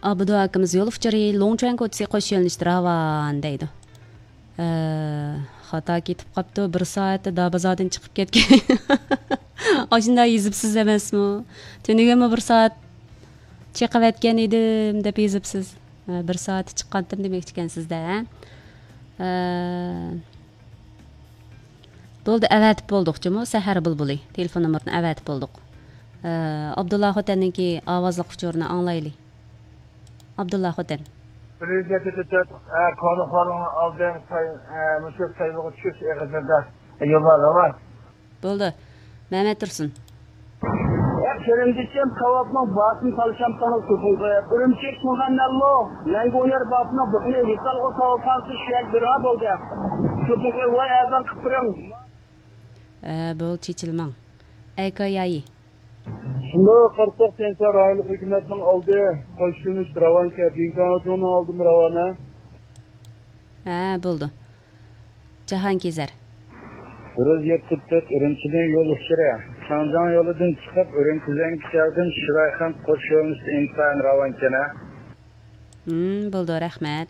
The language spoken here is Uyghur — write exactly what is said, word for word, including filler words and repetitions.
ئابدۇ ئاكىمىز يول ئۇچۇرى لوڭچۈەن كوچىسى قوش يۆنىلىشتە راۋان دەيدۇ. ئە، خاتا كېتىپ قاپتۇ، بىر سائەتتە دابازاردىن چىقىپ كەتكەن. ئاشۇنداق يېزىپسىز ئەمەسمۇ؟ تۈنۈگۈنمۇ بىر سائەت چېقىۋەتكەن ئىدىم دەپ يېزىپسىز. ھە، بىر سائەتتە چىققانتىم دېمەكچىكەنسىز-دە، ھە؟ ئە، بولدى، ئەۋەتىپ بولدۇق جۇمۇ، سەھەر بۇلبۇلى. تېلېفون نومۇرىنى ئەۋەتىپ بولدۇق. ئە، ئابدۇللا خوتەننىڭكى ئاۋازلىق ئۇچۇرىنى ئاڭلايلى. ئابدۇللا خوتەن. بىر يۈز يەتتە تۆت، ئە، كونىخورنىڭ ئالدى ساي-، ئە، مۇشۇ سايلىغا چۈشۈش ئېغىزىدا يوللار راۋان. بولدى. مەمەت تۇرسۇن. يا قېرىندىشىم، كاۋاپنىڭ باسىنى تالىشامسىڭىز سوپۇنغا. ئۈرۈمچى شىڭغەننەنلۇ، لەڭگۇيەر باسىنىڭ بۇقىنى ۋىسالغا ساۋالساڭسىز شۇيەك بىرا بولدى. سوپۇنغا ۋاي ئەزان قىپ بېرىڭ. ئە، بول، چېچىلماڭ. ئەيكايايى. شۇنداق قارىساق، تيەنشان رايونلۇق ھۆكۈمەتنىڭ ئالدى قوشۇلۇش راۋانكەن، دىڭكاڭجۇڭنىڭ ئالدىمۇ راۋانە. ھە، بولدى. جاھانكېزەر. بىر يۈز يەتتە تۆت ئۈرۈمچىدىن يول ئۇچۇرى. شاڭجياڭ يولىدىن چىقىپ، ئۈرۈمچى زەڭگىچياۋدىن شىرايخەنت قوش يۆنىلىشتە ئىنتايىن راۋانكەن ھە. ھىم، بولدى، رەھمەت.